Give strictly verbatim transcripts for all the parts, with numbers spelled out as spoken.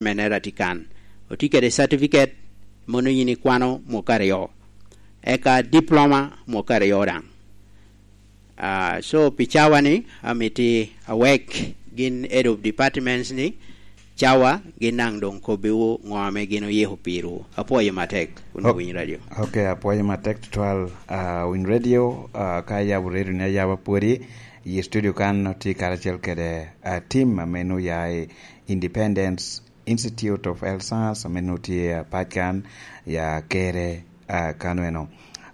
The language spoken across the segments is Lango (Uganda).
menere atye kan. Otye kede certificate, mono yin ikwano mwaka aryo. Eka diploma mwaka aryo daŋ. Ah, so pi cawa ni, amiti awek gin head of departments ni, cawa gin daŋ doŋ kobbiwu ŋo ame gin oyiko pirwu. Apwoyo matek, wun Ok. Owiny Radio. Ok, apwoyo matek tutwal, ah, Winy Radio, ah, ka ayabo radio ni ayaba pwodi, i studio kan otye karacel kede, ah, team ame nu ya i Independence Institute of Health Science, ame nu tye, ah, pac kan, ya kere, ah, kano eno.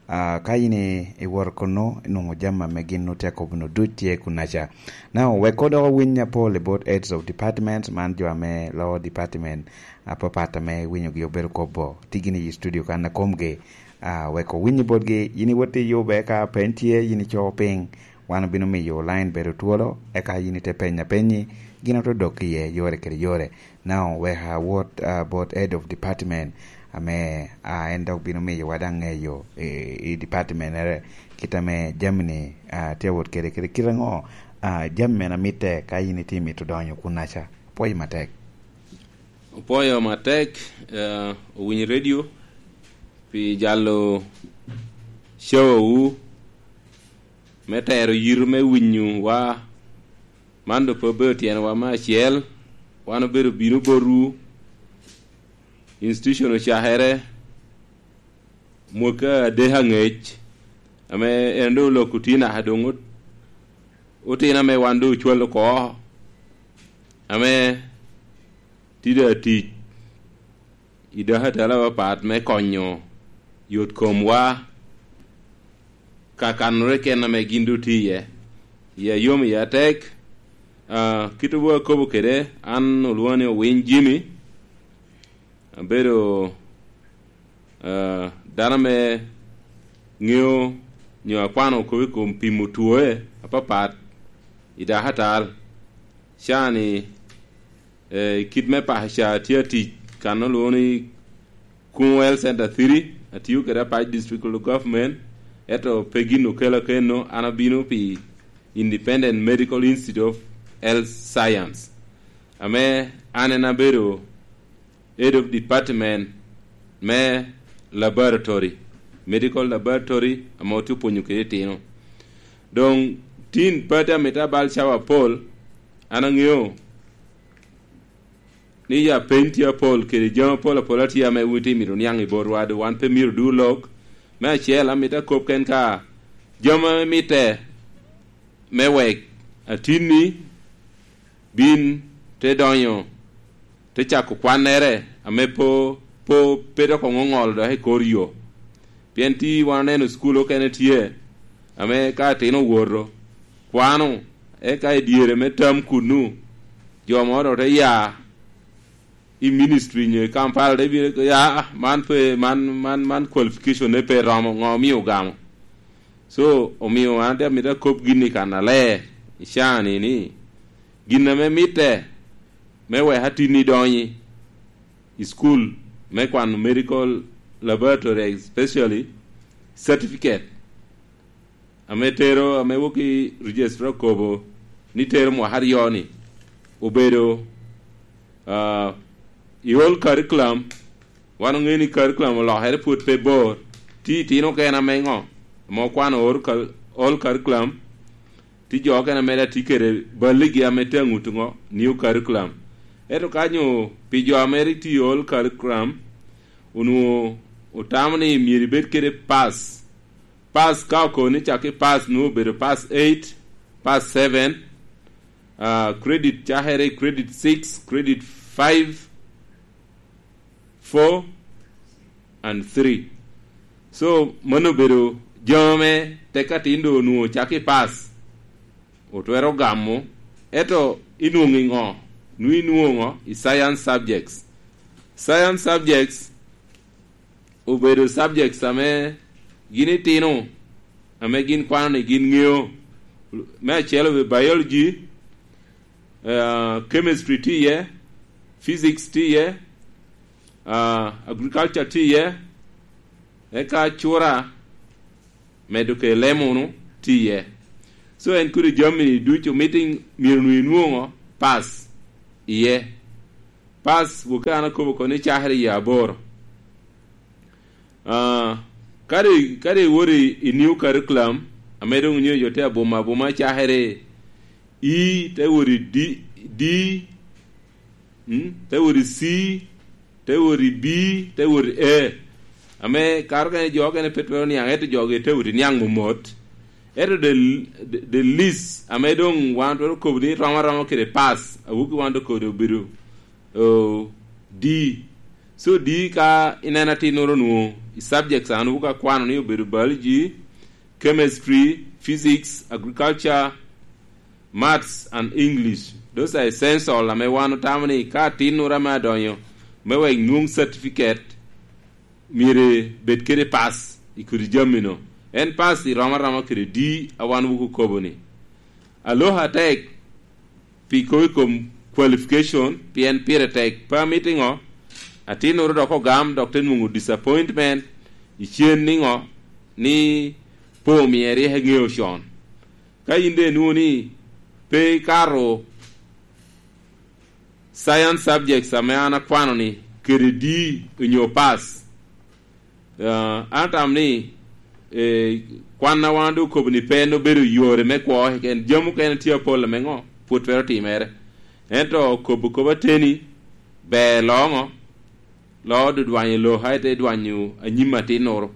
Ah, ka in i, iwoto kunu, inwoŋo jami ame gin nu tye akobo nu duc tye kunaca. Now, wek odok owiny apol i bot heads of departments, man jo ame loo department apapat ame iwinyogi obedo kobo, tye gin i studio kan akomgi. Ah, wek owiny i botgi, yin iwot i yube ka peny tye, yin ico piny, wan obino miyo line bedo twolo, eka yin ite penya penyi, gin ote dok iye yore kede yore. Now, wek awot, ah, bot head of department, ame, ah, en dok bino miyowa daŋ ŋeyo i, i department mere, kit ame jami-ni, ah, tye awot kede, kede kit aŋo, ah, jami mene amitte ka yin itye mito donyo kunaca. Apwoyo matek. Opwoyo matek, eh, Owiny Radio, pi jalo show-wu me tero yito me winyowa. Man doŋ pe obedo tyenwa me acel, wan obedo bino botwu, institution ocakere mwaka adek aŋec, ame en doŋ oloko tye naka doŋ ot-, otino ame wan doŋ ocwalo oko, ame tye doŋ atic i dakatala apapat me konyo yot komwa ka kanore kena ame gin doŋ tye iye. Iya yom, iya tek. Ah, kit obu akobo kede, an olwoŋo ni Owiny Jimmy. Abedo, ah, dano ame ŋeo nyo akwano kop i kom pimo twoe apapat i dakatal. Cani, eh, i kit me paka ca atye atic kan olwoŋo ni Kuŋo Health Center three, atiyo kede Apac District Local Government, ento pe gin okela keno, an abino pi Independent Medical Institute of Health Science, ame an en abedo head of department me laboratory, medical laboratory, ame otye opwonyo kede itino. Doŋ tin pati amito abal cawa apol, an aŋeo ni ya peny tye apol kede jami apol apol atye ame wun tye mito niaŋ i botwa, doŋ wan pe myero du lok. Me acel, amito akop ken ka jami ame mitte me wek atinni bin te donyo, te cako kwannere ame po, po, pe dok oŋoŋolo dok i kor yo. Pien ti wan oneno cukul okene tye, ame ka atino owoto, kwano, eka i dyere me tam kunnu, jo moro te ya i ministry nyo i Kampala, te bino, ya, man pe, man, man, man qualification ne pe romo, ŋo omio ogamo? So, omio an te amito akop gin i kan aler, i caa-ni, ni, gin ame mitte me wek atinni donyi i school me kwano medical laboratory, especially certificate, ame tero, ame wok i registrar okobo ni tero mwaka aryo-ni, obedo, ah, i old curriculum. Wan oŋeo ni curriculum olokere pwod pe bor. Ti itino okene ame ŋo? Ame okwano old cur-, old curriculum, ti jo okene ame daŋ tye kede balligi ame tye aŋut ŋo? New curriculum. Ento ka nyo pi jo ame rik tye i old curriculum, onwoŋo otamo ni myero ibed kede pass. Pass ka okobo ni cak i pass, nwoŋo obedo pass eight, pass seven, ah, credit cakere i credit six, credit five, four, and three. So, mano obedo jami ame tek atin doŋ onwoŋo cak i pass, otwero gamo, ento inwoŋo i ŋo? Nwoŋo inwoŋo i science subjects. Science subjects obedo subjects ame gin itino, ame gin kwano ni gin ŋeo. Me acel obedo biology, eh, chemistry tye iye, physics tye iye, ah, agriculture tye iye, eka cura medo kede lemonu tye iye. So en kodi jami ducu mito myero nwoŋo inwoŋo pass iye. Pass, woki an akobo oko ni cakere i aboro. Ah, kadi, kadi iwot i, i new curriculum, ame doŋ onyo jo te abuma abuma cakere, i te wot i D, D, mm, te wot i C, te wot i B, te wot i A. Ame karo kene jo kene pe twero niaŋ, ento jo gi te wot i niaŋ momot. Ento the, the, the least, ame doŋ wan twero kobo ni rom aroma kede pass, awoki wan doŋ kodi obedo, oh, D. So D ka ineno atinnoro nwoŋo i subjects an wuka kwano ni obedo biology, chemistry, physics, agriculture, maths and English. Those are essential ame wan otamo ni ka atinnoro ame adonyo me wek nwoŋ certificate, myero bed kede pass i kodi jami-nu. En pass i rom aroma kede D a wan wuku kobo ni. Aloha tek pi kobo i kom qualification, pien pire tek. Pe amito iŋo? Atinnoro dok ogam, dok te nwoŋo disappointment i cen niŋo? Ni pe omie rik eŋeo con. Ka in de inwoŋo ni pe ikato science subjects ame an akwano ni kede D onyo pass, ah, an atamo ni, eh, kwan a wan doŋ okobo ni pe en obedo yore me kwo keken. Jami okene tye apol ame ŋo? Pwod twero timere. Ento kobo kop ateni ber loŋo, lo dudwanyo lo, ka ite dwanyo anyim atinnoro.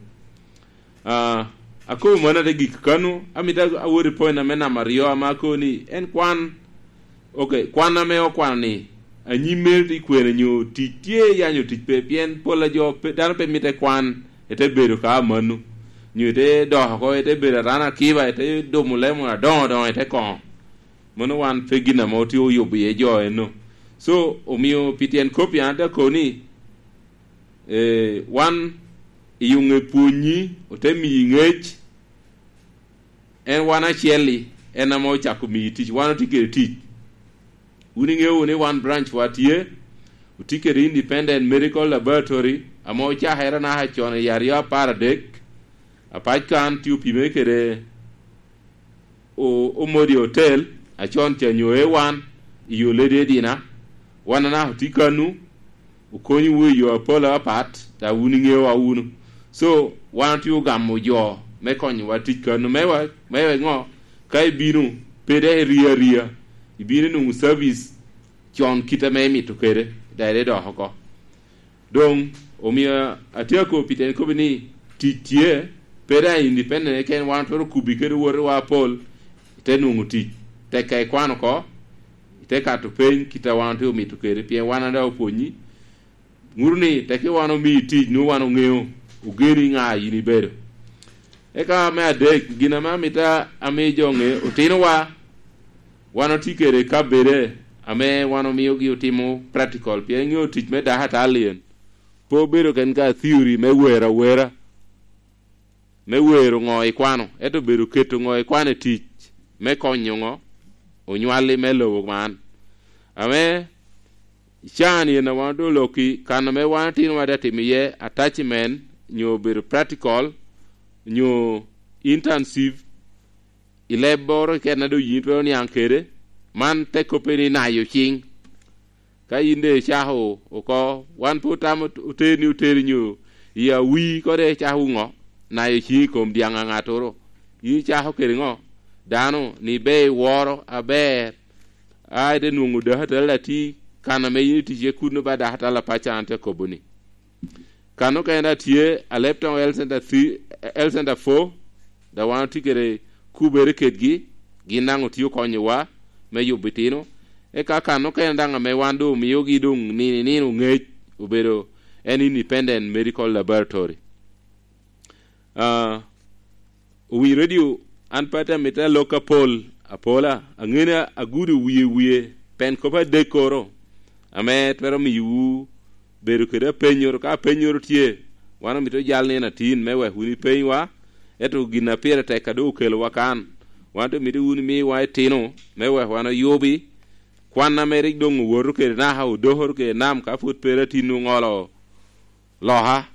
Ah, akobo mano ate gik kano, amito awot i point ame namba aryo ame akobo ni en kwan, ok, kwan ame okwano ni anyim mere tye kwene nyo tic tye ya nyo tic pe, pien pol a jo pe, dano pe mitte kwan, ite bedo ka amanno, nyo ite dok oko, ite bedo arana akiba, ite dumo lemo adoŋo adoŋo, ite koŋo. Mano wan pe gin ame otye oyubo iye jo eno. So, omio pi tyen kop-pi an ate akobo ni, eh, wan i yuŋe pwonyi, ote miyi ŋec, en wan acel-li, en ame ocako miyi tic, wan otye kede tic. Wun iŋeo wunu ni wan branch wa tye, otye kede Independent Medical Laboratory, ame ocakere anaka con i aryo apar adek, apac kan tye opime kede o-, Omodi Hotel, acon ca nyo A one, i yo Lady Edina, wan anaka otye kanu, okonyowu i yo apol apat, ta wun iŋeowa wunu. So, wan otye ogamo jo me konyowa tic kanu. Me wa, me wek ŋo? Ka ibino, pe dok irio aria, ibino inwoŋo service con kit ame imito kede, dok idok oko. Doŋ, omio atye akobo pi tyen kop-pi ni tic tye, pe daŋ independent keken, wan twero kubi kede owotewa apol, ite nwoŋo tic. Tek ka ikwano oko, ite kato peny kit a wan otye omito kede, pien wan a daŋ opwonyi. Ŋuto ni tek wan omii tic, nwoŋo wan oŋeo, ogeni ŋa yin ibedo. Eka me adek, gin ame amito ami jo ŋe, otinowa, wan otye kede kabede ame wan omiogi otimo practical, pien iŋeo tic me dakatali en pe obedo ken ka theory me wero awera, me wero ŋo ikwano, ento obedo keto ŋo ikwano i tic me konyo ŋo onywalli me lobo man. Ame can en a wan doŋ olokki, kan ame wan otinowa te timo iye attachment, nyo obedo practical, nyo intensive, i lebboro keken a doŋ yin twero niaŋ kede, man te kobbe ni nayo ciŋ. Ka yin doŋ icako oko, wan pe otamo oter ni oteri nyo i awi, ko doŋ icako ŋo? Nayo ciŋ i kom dyaŋ a ŋattoro. Yin icako kede ŋo? Dano ni ber iworo aber, a ite nwoŋo dakatali atir, kan ame yin iticce kuno ba dakatali apac an te kobo ni. Kan okene daŋ tye, Alebtong Health Center three, Health Center four, daŋ wan otye kede kubere kedgi, gin daŋ otye okonyowa me yubo itino. Eka kan okene daŋ ame wan doŋ omiogi doŋ nino i nino ŋec, obedo en Independent Medical Laboratory. Ah, owinyo redio, an pe atye amito alok apol, apola, aŋeni agudo wie wie, pen kop adekkoro, ame twero miyowu bedo kede apennyoro. Ka apennyoro tye, wan omito jal nino atin me wek wun ipenywa, ento gin a pire tek a doŋ okelowa kan, wan te mito wun imiwa itino me wek wan oyubi. Kwan ame rik doŋ owoto kede naka odokoro kede nam, ka pwod pe ri atin oŋolo loka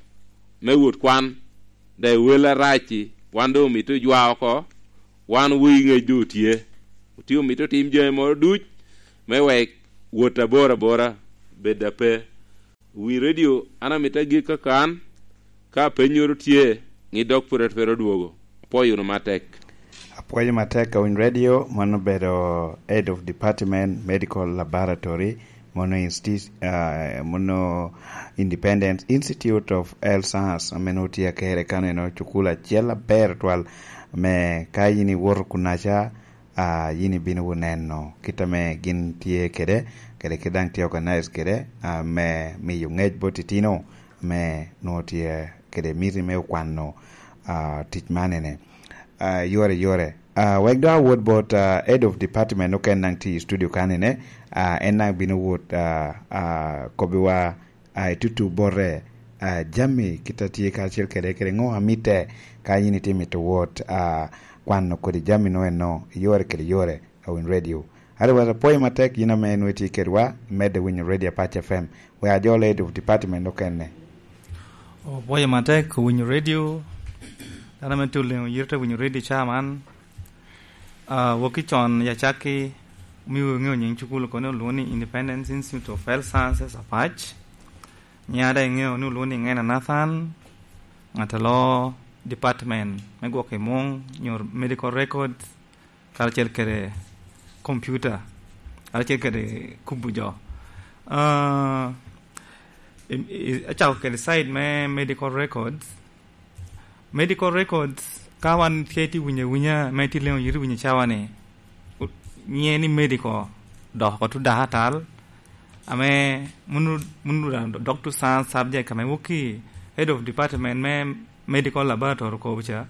me wot kwan, daŋ wel arac-ci, wan doŋ omito ojwa oko, wan wii ŋec doŋ otye. Otye omito tim jami moro duc me wek wot abor abora, bed ape. Wi redio, an amito agik kaka an, ka apennyoro tye, ŋi dok pwod twero dwogo. Apwoyo wunu matek. Apwoyo matek a Winy Radio, mano obedo Head of Department Medical Laboratory, mono insti-, ah, mono Independent Institute of Health Science, ame nwoŋo tye akere kaneno, cukul acel aber twal, ame ka yin iwoto kunaca, ah, yin ibino wunu neno kit ame gin tye kede, kede kit daŋ tye organize kede, ah, me miyo ŋec bot itino ame nwoŋo tye kede miti me okwano, ah, tic man ene. Ah, yore, yore. Ah, wek dok awot bot, ah, head of department oken daŋ tye i studio kanene, ah, en daŋ bino wot, ah, ah, kobbiwa, ah, i tutu bote, ah, jami kit a tye karacel kede, kede ŋo a mitte ka yin itye mito wot, ah, kwano kodi jami no eno, yore kede yore, a Winy Radio. Otherwise, apwoyo matek yin ame nwoŋo itye kedwa, imedde winyo Radio Apac F M. We ajol head of department okene. Opwoyo matek winyo radio, dano ame tye oleŋo yite winyo radio ca man. Ah, wok i con ya cakki, omiwu iŋeo nyiŋ cukul oko ni olwoŋo ni Independence Institute of Health Sciences Apac. Nyiŋa daŋ iŋeo ni olwoŋo ni Ŋena Nathan, ŋat a loo department me gwoko i muŋ, nyo medical records, karacel kede computer, karacel kede kubo jo. Ah, i, i, acako kede side me medical records. Medical records, ka wan tye tye winyo awinya, me tye leŋo yito winyo cawa-ni, u-, nyiŋe ni medical, dok oko to dakatari, ame munu, munu da-, doctor science subject, ame wok i head of department me medical laboratory kobo ca.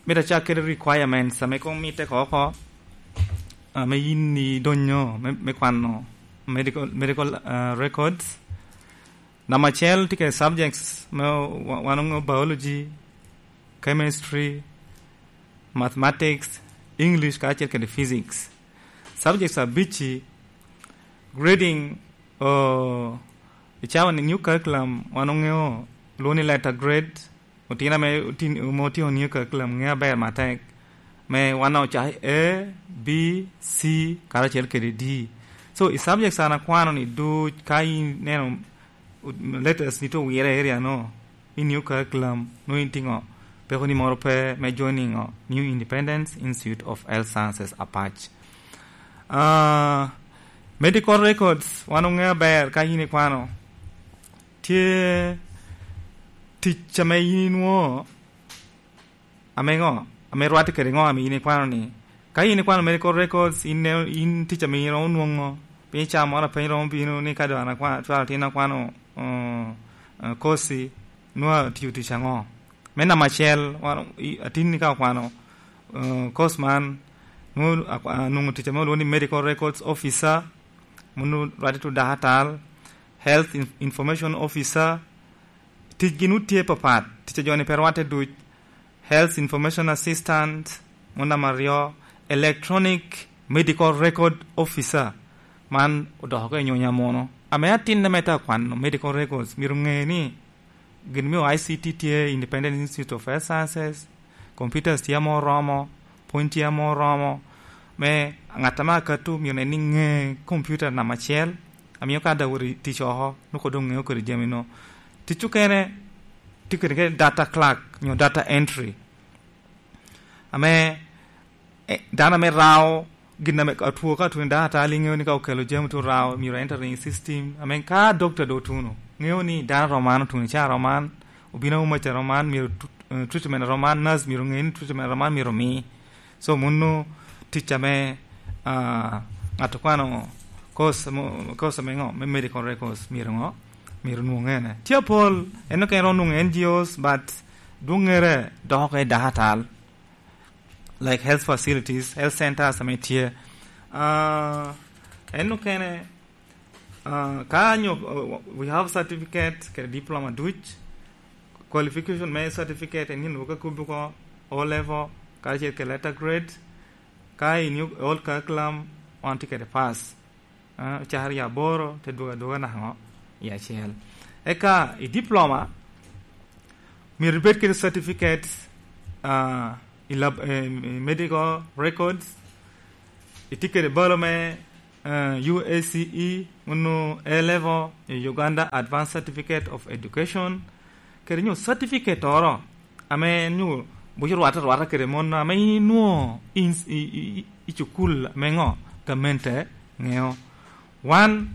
Mito acak kede requirements ame koŋ mitte oko, ame yin idonyo me, me kwano medical, medical, ah, records. Namba acel tye kede subjects me wa-, wan oŋeo biology, chemistry, mathematics, English, kacel kede physics. Subjects abicci, grading, oh, i cawa ni new curriculum, wan oŋeo lwongo ni letter grade, otino ame otin-, ame otino new curriculum ŋeo aber matek, me wan ocako A, B, C, karacel kede D. So, i subjects an akwano ni duc, ka in neno letters ni to wire area no, i new curriculum, no in tye ŋo? Peko ni moro pe me joining ŋo? New Independence Institute of Health Sciences Apac. Ah, medical records, wan oŋeo aber ka in ikwano. Tye tic ame in inwoŋo, ame ŋo? Ame rwatte kede ŋo ame in ikwano ni? Ka in ikwano medical records, in ne-, in tic ame in romo nwoŋo, piny ca moro a piny romo bino ni ka dong an akwano, cwalo tin akwano, uh, uh, kosi, nwoŋo atiyo tic aŋo? Me namba acel, wan, i, atin ni ka okwano, uh, course man, nwoŋo akwa-, anwoŋo tic ame olwoŋo ni medical records officer, munu rwatte to dakatari, health in-, information officer, ticgi nu tye papat, tic a jo-ni pe rwatte duc, health information assistant, munu namba aryo, electronic medical record officer, man odoko oko i nyonya muno. Ame atin ame te akwano medical records, myero ŋe ni gin me I C T tye, Independent Institute of Health Sciences, computers tye ame oromo, pwony tye ame oromo, me ŋat ame akato myero nen ni ŋe computer namba acel, amiyo ka daŋ wot i tic oko, noko doŋ ŋeo kede jami no. Tic okene, tye kede kede data clerk, nyo data entry. Ame, eh, dano ame rao gin ame atwo ka atwo ni dano ata liŋeo ni ka okelo jami to rao, myero enter i system. Ame ka doctor do otuno, ŋeo ni dano roman otuno, ca roman, obino auma ca roman, myero tu-, eh, treatment roman, nurse myero ŋe ni treatment roman myero omi. So, muno tic ame, ah, ŋat okwano course mo-, course ame ŋo? Me medical records myero ŋo? Myero nwoŋ ene. Tye apol, en okene ro nwoŋo N G Os, but dwoŋŋere dok oko i dakatal. Like health facilities, health centers ame tye. Ah, en okene, ah, ka nyo, uh, we have certificate kede diploma duc, qualification me certificate en nyin wok akubi ko O level, kacel kede letter grade, ka in i old curriculum, wan tye kede pass. Ah, ocakere i aboro, te dwogo adwoga naka ŋo? I acel. Eka i diploma, myero ibed kede certificate, ah, i lab-, eh, i medical records, itye kede balo me, eh, U A C E, Onwo A-level, Uganda Advanced Certificate of Education, kede nyo certificate oro ame nyo buco rwate rwata kede mon ame inwo in, i, i, i, i cukul ame ŋo gamente ŋeo. Wan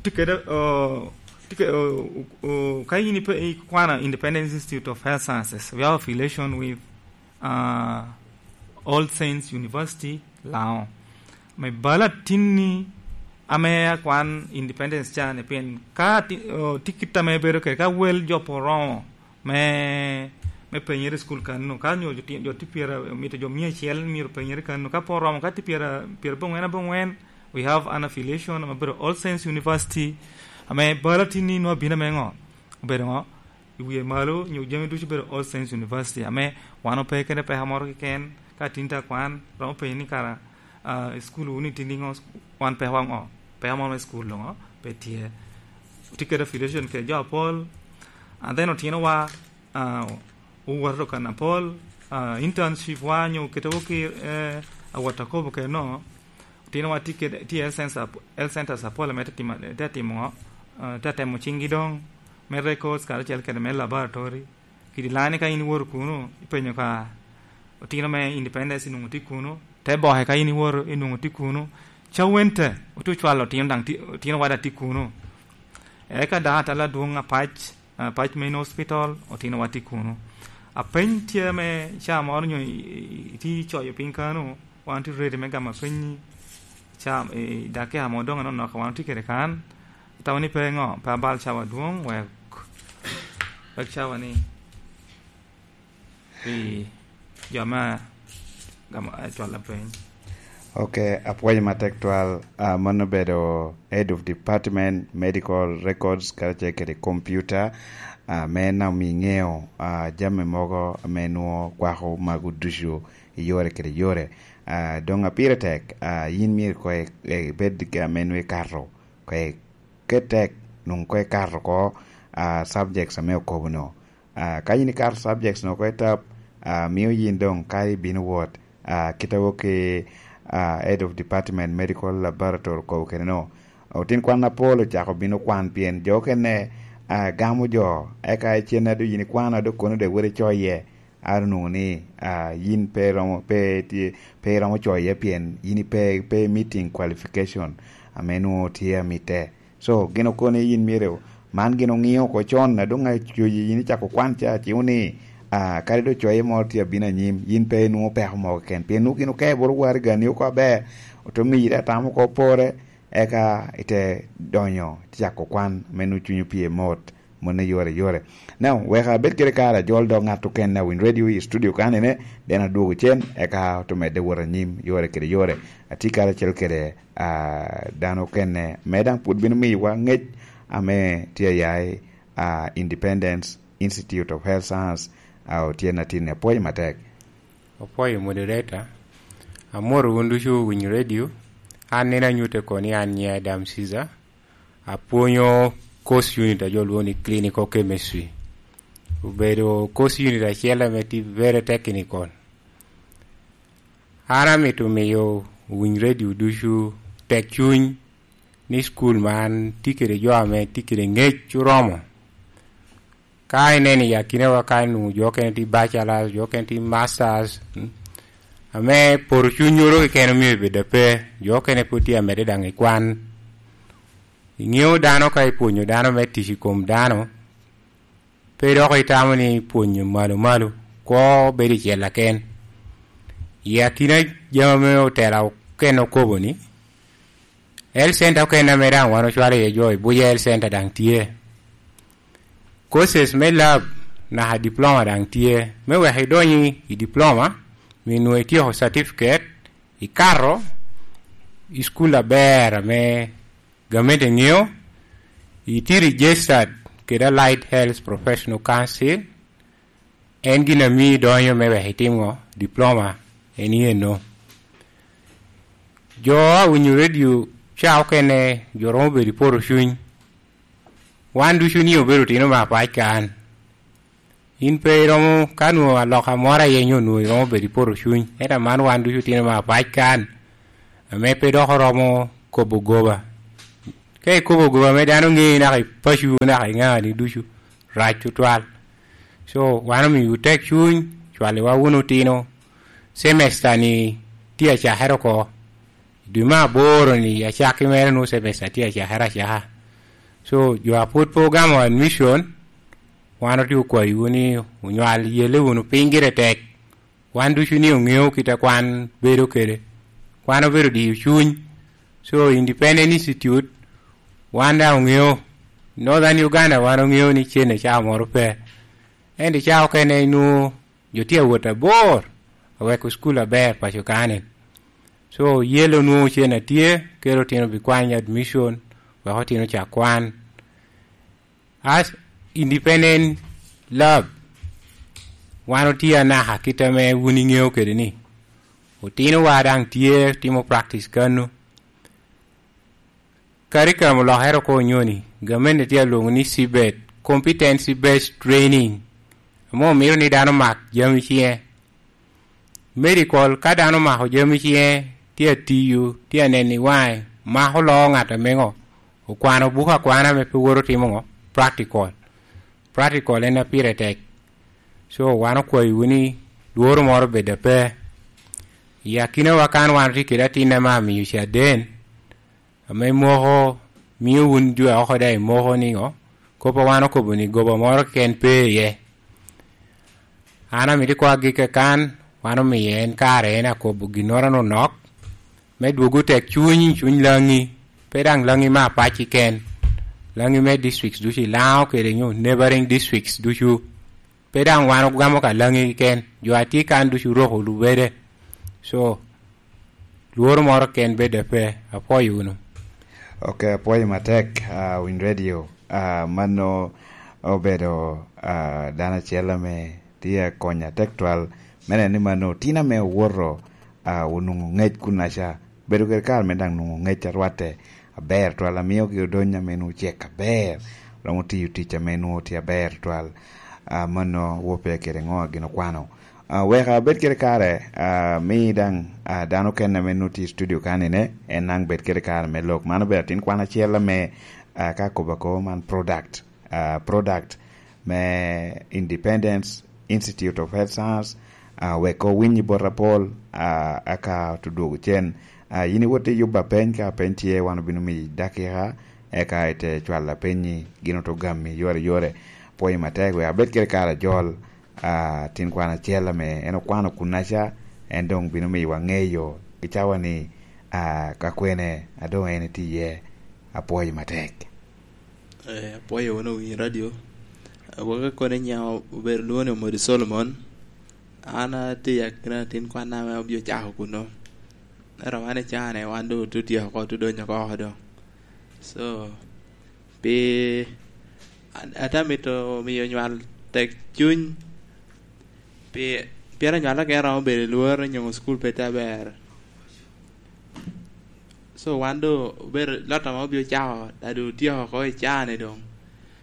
tye kede, o, tye ke-, o, o, ka in ipe-, ikwano Independence Institute of Health Sciences, we have affiliation with, uh, All Saints University, Lao. Me bala tinni ame akwan Independence ca ni pien ka ti-, o, tikit ame bedo kede ka wel jo pe oromo me, me penyere i cukul kanno, ka nyo jo ti-, jo tye pyera, mito jo mia acel myero penyere kanno, ka pe oromo, ka tye pyera, pyera abongwen abongwen, we have an affiliation ame bedo All Saints University, ame bala tinni nwa bino ame ŋo? Obedo ŋo? I wie malo, nyo jami ducu bedo All Saints University, ame wan ope kede peka moro keken, ka tin ta kwan, romo penyo ni kara, ah, i cukul wunu itye niŋo, wan peko aŋo? Peko moro me cukul doŋo pe tye. Otye kede affiliation kede jo apol, and then otinowa, ah, owoto kan apol, ah, internship wa nyo kete woki, eh, awot akobo kede no, otinowa tye kede, tye health centers ap-, health centers apol ame te timo, te timo, ah, te temo ciŋgi doŋ, me records karacel kede me laboratory. Kidi lani ka in iwoto kuno, ipenyo ka otino me Independence inwoŋo tye kuno, te boke ka in iwoto inwoŋo tye kuno, cawente otye ocwalo otino daŋ tye, otino wada tye kuno. Eka dok atala adwoŋ apac, apac main hospital, otino wa tye kuno. Apeny tye ame ca moro nyo i, i, itye icoyo piny kano, wan tye ready me gamo apenyi, ca, i dakika mo doŋ anonok wan tye kede kan, Atamo ni pe ŋo, pe abal cawa adwoŋ, wek, wek cawa ni pi jo me gamo, eh, cwalo piny. Ok, apwoyo matek twal. Ah, mano obedo Head of Department, Medical Records, karacel kede Computer, ah, me en omi ŋeo, ah, jami mogo ame nwo kwako magu ducu i yore kede yore. Ah, doŋ a pire tek, ah, yin myero koŋ i-, ibed ame nwo ikato koŋ i-, Ket tek, nwoŋo koŋ ikato oko, ah, subjects ame okobo-nu. Ah, ka yin ikato subjects-nu oko i tap, ah, mio yin doŋ ka ibino wot, ah, kite wok i, ah, Head of Department Medical Laboratory okobo kede-nu, otin kwan apol ocako bino kwan pien jo okene, ah, gamo jo, eka icenne a doŋ yin ikwano a doŋ kono doŋ iwot icoye. A onwoŋo ni, ah, yin pe iromo, pe tye, pe iromo coye pien yin ipe, pe meeting qualification ame nwoŋo tye amitte. So, gin okobo ni yin myero, man gin oŋio oko con, a doŋ acoyi yin icako kwan ca, aciko ni, ah, kadi doŋ coye moro tye abino anyim, yin pe inwoŋo peko mogo keken, pien nwoŋo gin okeo bot waraga-ni oko aber, ote miyi atamo oko pore, eka ite donyo, ite cako kwan, me nwoŋo cunyi opye mot. Mano yore yore. Now, wek abed kede kare ajol dok ŋat okene a Winy Radio i studio kanene, then adwogo cen, eka ote medde wot anyim yore kede yore. Atye karacel kede, ah, dano okene, me daŋ pwod bino miyowa ŋec ame tye aya i, ah, Independence Institute of Health Science, ah, Otyeno Atinni. Apwoyo matek. Apwoyo moderator. Amwoto wun ducu Winy Radio. An nino anyutte kono ni an nyiŋa Adam Caesar. Apwonyo course unit a jo lwongo ni clinical chemistry. Obedo course unit acel ame tye very technical. An amito miyo Winy Radio ducu tek cuny ni cukul man tye kede jo ame tye kede ŋec oromo. Ka ineno i akinawa ka nwoŋo jo okene tye bachelors, jo okene tye masters, mm, ame poto cunyoro keken omio ebedo ape, jo okene pwod tye amedde daŋ i kwan. Iŋeo dano ka ipwonyo dano me tic i kom dano, pe dok itamo ni pwonyo malo malo, kwo bedo i cella ken. I akina jami ame otela okene okobo ni, Health center okene ame daŋ wan ocwalo iye jo i buca health center daŋ tye. Courses me lab naka diploma daŋ tye. Me wek idony i diploma, mi nwoŋo ityeko certificate, ikato i cukul aber ame gamente ŋeo, itye registered kede Allied Health Professional Council, en gin ami idonyo me wek itim ŋo? Diploma. En iyeno. Jo a winyo redio ca okene, jo romo bedo i poto cuny. Wan ducu ni obedo otino me apac kan. In pe iromo, ka nwoŋo aloka moro aye nyo nwoŋo iromo bedo i poto cuny. Ento aman wan ducu otino me apac kan, ame pe dok oromo kobo goba. Ka ikobo goba ame dano ŋeyi naka i paco naka i ŋani ducu, rac tutwal. So, wan omio tek cuny, cwaliwa wunu otino. Semester-ni tye acakere oko. I dwe me aboro-ni, acakki mere nwoŋo semester tye acakere acaka. So, jo a pwod pe ogamo admission, wan otye okwayowu ni onywal yelle wunu piny gire tek. Wan ducu ni oŋeo kit a kwan bedo kede. Kwan obedo diyo cuny. So, Independent Institute, wan daŋ oŋeo. Northern Uganda, wan oŋeo ni cen i cawa moro pe. Ento i cawa okene inwoŋo jo tye awot abor, aweko cukul aber paco kani. So, yelle onwoŋo cen atye, kelo otino bikwany admission, wek otino cak kwan. As Independent Lab, wan otye anaka kit ame wun iŋeo kede ni. Otinowa daŋ tye timo practice kano. Curriculum olokere oko onyoni, gamente tye alwoŋo ni C B E T, Competency Based Training, ame omito ni dano mak jami ciŋe. Medical, ka dano omako jami ciŋe, tye atiyo, tye aneno i waŋe, mako loo ŋat ameŋo, okwano buko akwana ame pe woto timo ŋo? Practical. Practical en a pire tek. So, wan okwayowu ni lworo moro bed ape. I akinawa kan wan otye kede atin ame amiyo caden, ame moko mio wun jo a oko daŋ imoko niŋo? Kop a wan okobo ni goba moro keken pe iye. An amito ikwa agikki kan, wan omiye en kare en akobo ginnoro anonok, me dwogo tek cuny, cuny Laŋi, pe daŋ Laŋi me apac keken, Laŋi me districts ducu i Laŋo kede nyo neighboring districts ducu. Pe daŋ wan ogamo ka Laŋi keken, jo a tye kan ducu roko lubede. So, lworo moro ken bed ape, apwoyo wunu. Ok, apwoyo matek, ah, Winy Radio. Ah, mano obedo, ah, dano acel ame tye akonya tek twal. Me neno ni mano tin ame owoto, ah, onwoŋo ŋec kunaca. Bedo kede kare me daŋ nwoŋo ŋec arwatte aber twal, amiogi odony ame nwoŋo cek aber. Romo tiyo tic ame nwoŋo tye aber twal. Ah, mano wo pe kede ŋo a gin okwano. Ah, wek abed kede kare, ah, mi daŋ, ah, dano okene ame nwoŋo tye i studio kanine, en daŋ bed kede kare me lok. Man obedo atin kwan acel ame, ah, ka akobo akobo man product, ah, product me Independence Institute of Health Science, ah, wek owiny bot apol, ah, aka oto dwogo cen. Ah, yin iwot iyubba peny, ka peny tye, wan obino miyi dakika, eka ite cwalo apenyi, gin oto gami yore yore. Pwoyo matek, wek abed kede kare ajol, ah, tin kwan acel ame en okwano kunaca, en doŋ bino miyowa ŋeyo i cawa ni, ah, ka kwene a doŋ en etye iye. Apwoyo matek. Eh, apwoyo wunu Winy Radio. Agwok kono i nyaŋ obedo lwongo ni Omodi Solomon. An atye i akina atin kwan ame obio cako kuno. Ento wan i caa-ni, wan doŋ otutyeko oko, otudonyo oko doŋ. So, pi, an-, ate amito miyo nywal tek cuny, pi, pien anywal okene romo bedo i lworo nyo cukul pe tye aber. So, wan doŋ obedo lot ame obio cako, a doŋ otyeko oko i caa-ni doŋ.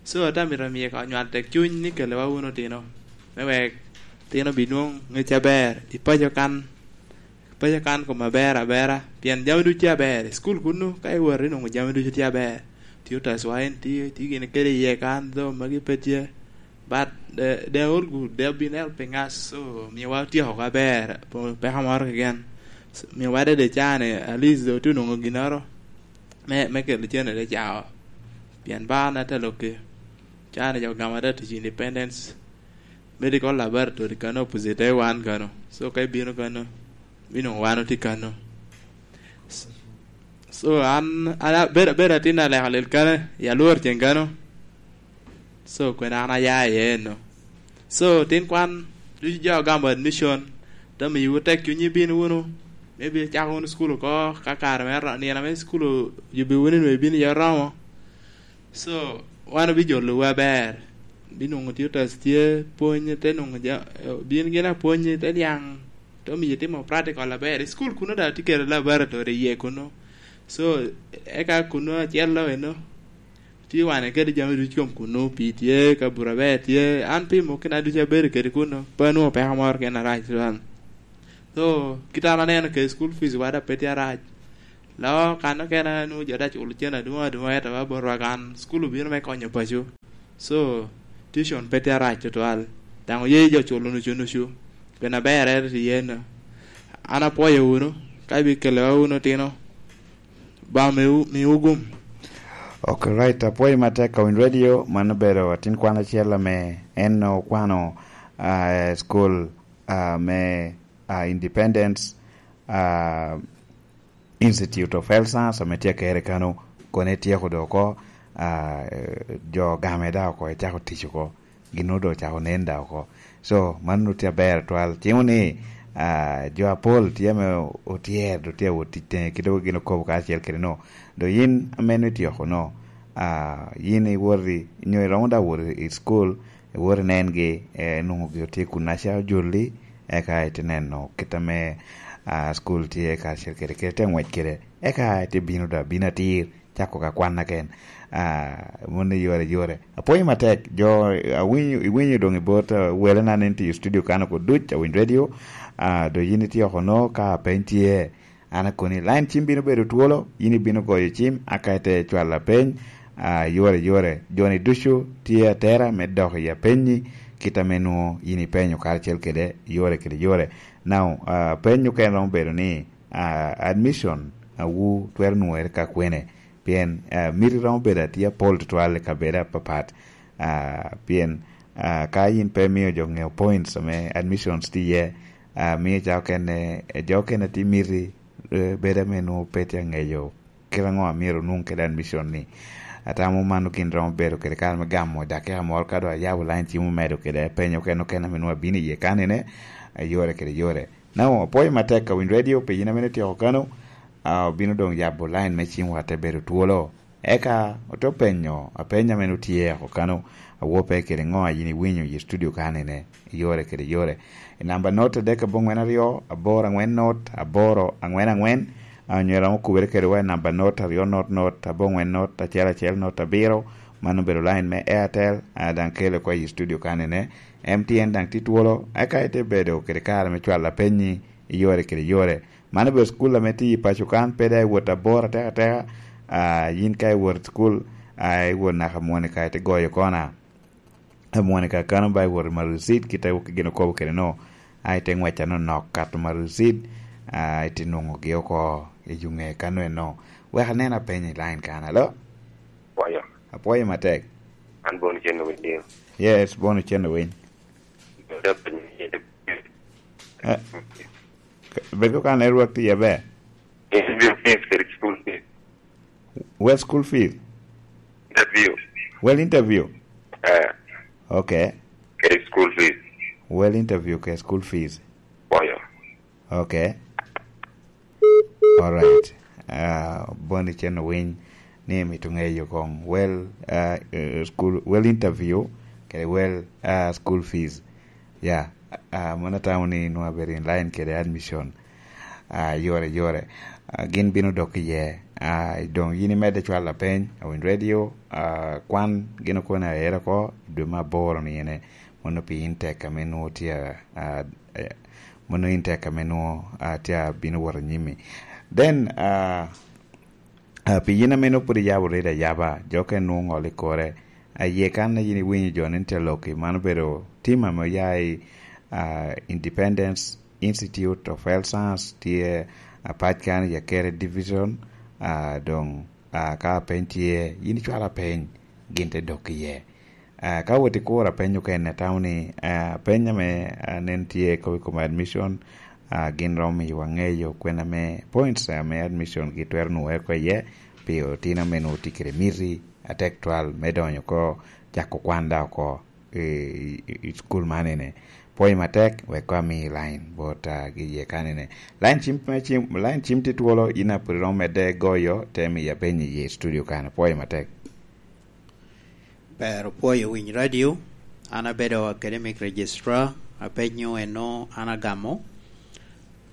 So, ate amito miyo ka onywal tek cuny ni kelliwa wunu otino, me wek otino binwoŋ ŋec aber i paco kan, paco kan kom aber abera, pien jami ducu tye aber. I cukul kuno, ka iwot inwoŋo jami ducu tye aber. Tye otaswa en tye, tye gin kede iye kan, dho magi pe tye. But they, they are all good. They have been helping us. So, miyowa otyeko oko aber, po-, peko moro keken. So, miyowa dede caa-ni, at least doŋ otye onwoŋo ginnoro me, me kelo cene te caa. Pien ba na te lokke. Caa-ni jo gamo ata tic Independence Medical Laboratory kano, opposite wan kano. So, ka ibino kano, binwoŋo wan otye kano. So, an, an abedo, abedo atin aleka lel kano, i alwor cen kano. So, kwene an aya iye eno. So, tin kwan, ducu jo agamo admission, te miyowu tek cuny ibin wunu, maybe icako wunu cukul oko, ka kare me ro-, nino me cukul oyubbi wunu, nwe ibin iye oromo. So, wan obijolowu aber. Binwoŋo tye otas tye, pwony, te nwoŋo ja-, bin gin apwony, te niaŋ, te omiyo itimo practical aber. I cukul kuno daŋ tye kede laboratory iye kuno. So, eka kuno acel lo eno, tye wane kede jami ducu kom kuno, pii tye, kabura ber tye. An pi mukina ducu abedo kede kuno, pe anwoŋo peko moro kene arac tutwal. So, kit an aneno kede school fees wa daŋ pe tye arac. Lo kan okene nwoŋo jo te culo cen adwoŋ adwoŋ, ento wa botwa kan, cukul obino me konyo paco. So, tuition pe tye arac tutwal. Daŋ oye jo culo nucu nucu. Pien aber ere tye yen. An apwoyo wunu, ka ibikelewa wunu otino, ba miwu, miwu gum. Ok, right. Apwoyo matek ka winy radio. Man obedo atin kwan acel ame en okwano, ah, school, ah, me, ah, Independence, ah, Institute of Health Science ame tye akere kano, kone tyeko do oko, ah, jo game da oko, ecako tic oko, gin doŋ ocako nen da oko. So, man tye aber twal. Cimo ni, ah, jo apol tye ame otyer, do tye awot tic tenge, kit doŋ gin okobo kacel kede no. Do yin ame nwe tyeko no, ah, yin iwoti, nyo iromo da wot i school, iwot inengi, eh, nwoŋo gi otye kun aca ojulli, eka ite neno kit ame, ah, school tye kacel kede, kede te ngwec kede. Eka ite bino da, bino atir, cako ka kwanna ken. Ah, moni yore, yore. Apwoyo matek, jo, awinyo, iwinyo doŋ i bot, ah, wele na nen tye i studio kan oko duc, awiny radio. Ah, do yin itye oko no, ka peny tye, an akoni, line cim bino bedo twolo, yin ibino goyo cim, aka ite cwalo apeny, ah, yore, yore. Joni ducu tye atera me dok i apenyi, kit ame nwoŋo yin ipenyo karacel kede, yore kede yore. Now, ah, peny okene romo bedo ni, ah, admission, ah, wu twero nwere ka kwene? Pien, ah, miti romo bedo atye apol tutwal i kabedo apapat. Ah, pien, ah, ka yin pe imio jo ŋeo points ame admissions tye iye, ah, mio ca okene, eh, jo okene tye miti, eh, bedo ame nwoŋo pe tye aŋeyo kit aŋo a myero onwoŋ kede admission ni. Atamo mano gin romo bedo kede kare me gamo dakika moro ka doŋ ayabo line cim omedo kede penyo okene okene ame nwoŋo abino iye kanene, eh, yore kede yore. Now, apwoyo matek ka winy radio pi yin ame ityeko kano, ah, obino doŋ yabo line me cim wa te bedo twolo. Eka ote penyo apeny ame nwoŋo tye oko kano, awope kede ŋo a yin iwinyo i studio kanene, yore kede yore. I namba not adek abongwen aryo, aboro angwen not, aboro angwen angwen, ah, onyo iromo kubere kede wa i namba not aryo not not, abongwen not, acel acel not, abiro, mano obedo line me Airtel, ah, daŋ kele oko i studio kanene. M T N daŋ tye twolo, eka ite bedo kede kare me cwalo apenyi i yore kede yore. Man obedo cukul ame tye i paco kan, pe daŋ iwot abor atekateka. Ah, yin ka iwot i cukul, ah, iwot naka Monica, ite goyo kona. Ah, Monica kano ba iwot i Marucid, kit a gin okobo kede no. Ah, ite ngwec anonok kato Marucid, ah, ite nwoŋogi oko i yo ŋe kano eno. Wek anen apeny i line kan, alo? Apwoyo. Apwoyo matek. An Bon Cen Owiny. Yes, Bon Cen Owiny. Bed ka network tye aber. Interview fees kede school fees. Well, school fees? Interview. Well, interview? Eh. Okay. Kede school fees. Well, interview kede school fees. Oyo. Okay. All right. Ah, Bon Cen Owiny ni mito ŋeyo koŋ. Well, ah, eh, school, well, interview kede well, ah, school fees. Ya, ah, mano atamo ni nwoŋo abedo in line kede admission, ah, yore, yore. Ah, gin bino dok iye. Ah, doŋ yin imedde cwalo lapeny, Awiny Radio, ah, kwan gin okone aera oko, i dwe me aboro ni ene, mono pi in tek ame nwoŋo tye, ah, eh, mono in tek ame nwoŋo, ah, tye abino wot anyimi. Then, ah, Ah, pi yin ame nwoŋo pwod iyabo redo ayaba, jo okene nwoŋo ŋolo i kore. Aye kan a yin iwinyo jo ni tye lok i, man obedo tim ame oya i, ah, Independence Institute of Health Science, tye apac kan i Akere Division, ah, doŋ, ah, ka apeny tye, yin icwalo apeny, gin te dok iye. Ah, ka wot ikuro apeny okene, atamo ni, ah, apeny ame, ah, nen tye kop i kom admission, ah, gin romo miyowa ŋeyo kwena ame points ame admission gi twero nwoŋere oko iye, pi otino ame nwoŋo tye kede miti atek twal me donyo oko, cako kwan da oko i, i, i cukul man ene. Pwoyo matek, wek koŋ ami line bot, ah, gi iye kanene. Line cim, cim, line cim tye twolo, in a pwod iromo medde goyo, te miyo apeny iye i studio kanyo. Pwoyo matek. Ber opwoyo winy radio. An abedo academic registrar, apenyo eno an agamo.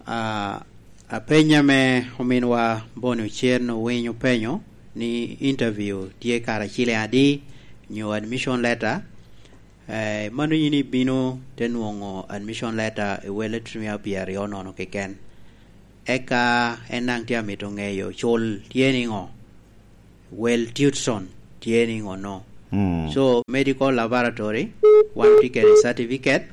Ah, apenya me ominwa Boni Ocen Owiny openyo ni interview tye kara ciliŋ adi, nyo admission letter? Eh, mano yin ibino te nwoŋo admission letter i wele trimia pyeraryo nono keken. Eka en daŋ tye amito ŋeyo cul tye niŋo, wel Tutson tye niŋo no. Mm. So, medical laboratory, wan tye kede certificate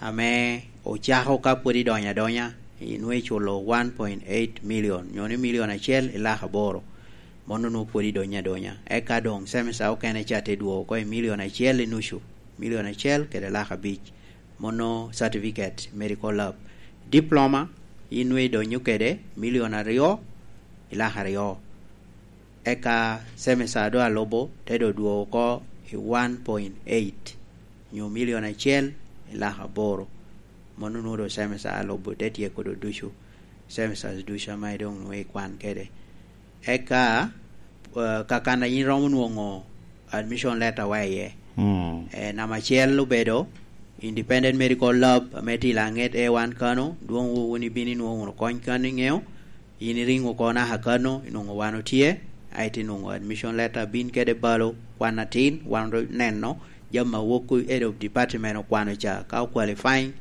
ame ocako ka pwod idonyo adonya, inwe iculo one point eight million, nyo ni milion acel i lak aboro. Mono nwo pwod idonyo adonya. Eka doŋ semester okene ca te dwogo oko i milion acel i nucu, milion acel kede lak abic. Mono certificate, medical lab. Diploma, inwe idonyo kede milion aryo i lak aryo. Eka semester doŋ alubo te doŋ dwogo oko i one point eight, nyo milion acel i lak aboro. Mono nwo doŋ semester alubo te tyeko doŋ ducu. Semester ducu ame doŋ nwo ikwan kede. Eka, eh, kakan a yin romo nwoŋo admission letter wa iye. Mm. Eh, namba acel obedo Independent Medical Lab ame tye i Langet A one Kano, dwoŋ wu wun ibino inwoŋo wunu kony kan iŋeo, yin iriŋ oko naka Kano, inwoŋo wan otye, aeto inwoŋo admission letter bin kede balo, kwan atin, wan oneno, jami a wok head of department okwano ca, ka o qualifying,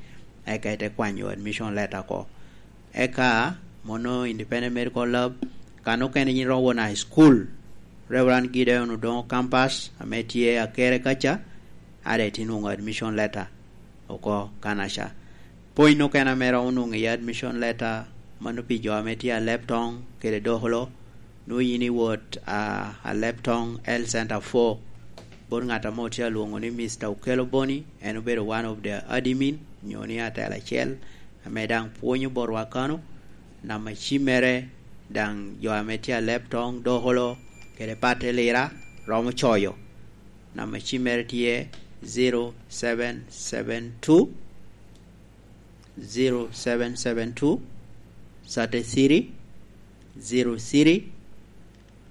eka ite kwanyo admission letter oko. Eka, mono Independent Medical Lab, kan okene yin romo won high school, Reverend Gideon Odongo Campus, ame tye Akere kaca, aeto inwoŋo admission letter oko kanaca. Pwony okene ame romo nwoŋo i admission letter, mano pi jo ame tye Aleptong kede Dokolo, nwoŋo yin iwot, a, Aleptong Health Center four, bot ŋat ame otye alwoŋo ni Mister Okello Boni, en obedo one of the admin, nyo ni atela acel, ame daŋ pwonyo botwa kano. Namba cimmere daŋ jo ame tye Aleptong, Dokolo, kede Patte Lira, romo coyo. Namba cimmere tye zero seven seven two, zero seven seven two, thirty-three, zero three,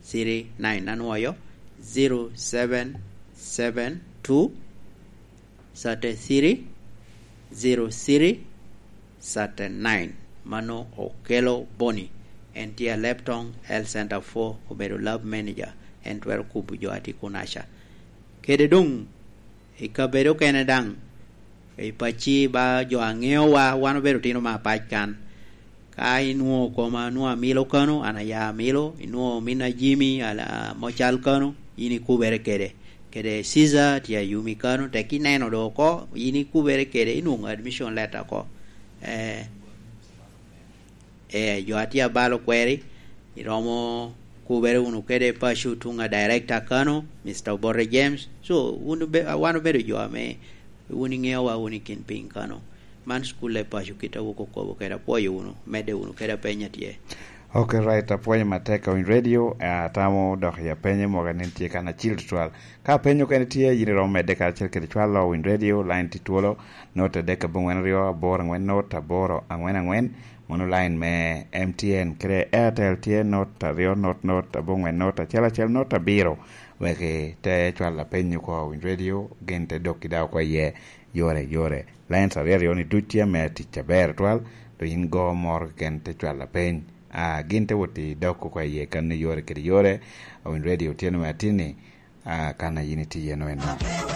three nine. Anwoyo, zero seven seven two, thirty-three, zero three, thirty-nine. Mano Okello Boni. En tye Aleptong Health Center four, obedo lab manager. En twero kubo jo a tye kunaca. Kede doŋ, i kabedo okene daŋ, i pacci ba jo a ŋeowa, wan obedo tino me apac kan. Ka inwoŋo koma nwoŋo amilo kano, an aya amilo, inwoŋo ominna Jimmy, ala, mocal kano, yin ikubere kede. Kede Caesar tye Ayumi kano, tek ineno doŋ oko, yin ikubere kede, inwoŋo admission letter oko. Eh, eh, jo a tye abalo kweri, iromo kubere wunu kede paco tuŋ a director kano, Mister Obote James. So, wun obe-, wan obedo jo ame wun iŋeowa wun i kin piny kano. Man cukul i paco kit a wok okobo kede, apwoyo wunu, medde wunu kede apeny a tye. Ok, right, apwoyo matek Owiny Radio, eh, atamo dok i apenye mogo nen tye kan acil tutwal. Ka apenyo kene tye, yin iromo medde karacel kede cwalo Owiny Radio, line tye twolo, not adek abongwen aryo, aboro angwen not, aboro angwen angwen, mono line me M T N, kede Airtel tye not aryo not not, abongwen not, acel acel not, abiro, wek ite cwalo apeny oko Owiny Radio, gin te dok i daŋ oko iye, yore, yore. Lines aryo aryo ni duc tye ame tic aber twal, to yin go moro keken te cwalo apeny. Ah, gin te wot i dok oko iye kan i yore kede yore, Owiny Radio tye nome atinni, ah, kan a yin itye iye no eno.